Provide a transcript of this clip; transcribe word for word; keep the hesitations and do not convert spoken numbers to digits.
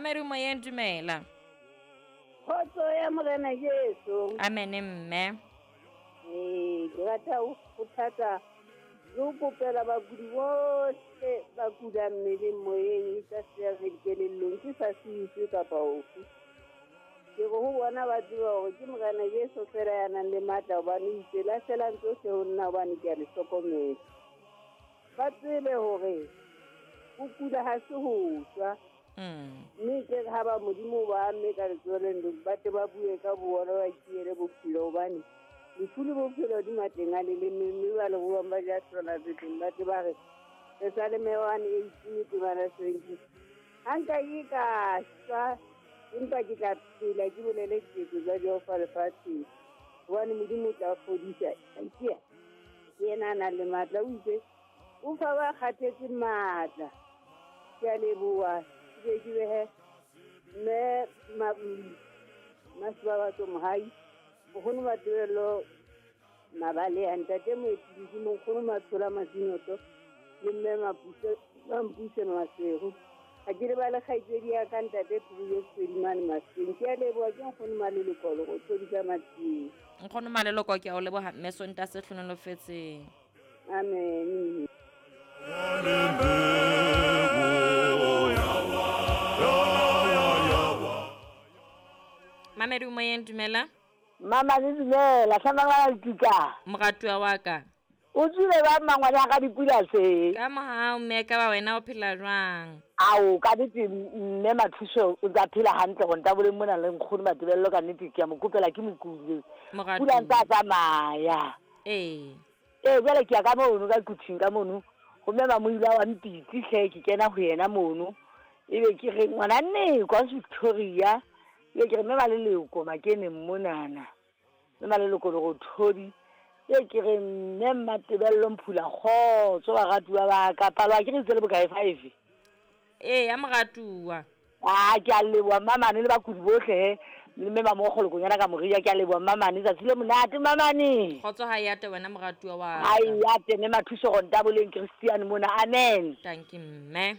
Mamedi moyeng, dumela. Kgotso ya Morena Jesu. Amen mme. Ee, ke rata ho kgothatsa le ho kopela bakudi bohle ba kulang mmeleng, moyeng, le ka seya dikelellong, ke sa siiswe kapa ofe. Ke re ho bona ba tseba hore ke Morena Jesu fela ya nang le matla, hobane o itse lahlelang tsohle ho nna hobane ke a le hlokomela. Ba tsebe hore ho kula ha se ho shwa. Mm. Mme ke re ha ba Modimo ba amme ka letsoho le ba tle ba bue ka bona ba kiele bophelo, hobane lefu le bophelo di matleng a leleme, mme ba le buang ba ja hlola teng, ba tle ba re Pesaleme one eighteen temana seventeen. Ha nka ke ka shwa, empa ke tla phela ke bolele diketso tsa Jehova lefatsheng, hobane Modimo o tla fodisa. Ke yena a nang le matla, o itse o fa ba kgathetseng matla. Ke a leboha. Ke ke behe mme Masibabatso Mohai, nkgono Matebello Mabaleha, ntate Moetsi, nkgono Matshola Masinoto le mme Mapuse, Mampuse Maseru. Ha ke lebale kgaitsedi ya ka ntate Phiri Sedimane Maseng. Ke a leboha, ke nkgono Maleloko le go thodisa Matsieng. Nkgono Maleloko, ke a o leboha mme, Sontaha se hlohonolofetseng. Amen. Mamedi moyeng, dumela. Mama le dumela, hlama le tika. Moratuwa wa ka. O tswile ba mangwana ka dipula se. Ka mohau mme, ka ba wena o phela jwang? Ao, ka nnete mme Mathuso o tsa phela hantle go ntaboleng mona le nkgono Matebello, ka nnete ke a mo kopela ke mokule. Moratuwa. Pula ntse a tsamaya. Ee. Ee, jwale ke ya ka mono ka kuthing ka mono. Ho mme Mamoila wa Mpitsi hle, ke kena ho yena mono. Ebe ke re ngwana nne kwa Victoria. Ebe ke re mme Maleloko makeneng monana. Mme Maleloko le go thodi. Ebe ke re mme Matebello Mphula kgotso baratuwa ba ka, palo ha ke re itse le bokae five. Ee, ya moratuwa. Ah, ke a leboha mmamane le bakudi bohle he. Le mme Mamokgolokonyana ka Moria, ke a leboha mmamane, tsatsi le monate mmamane. Kgotso ha e ate wena moratuwa wa ka. Ha e ate mme Mathuso go ntaboleng Christian mona. Amen. Thank you mme.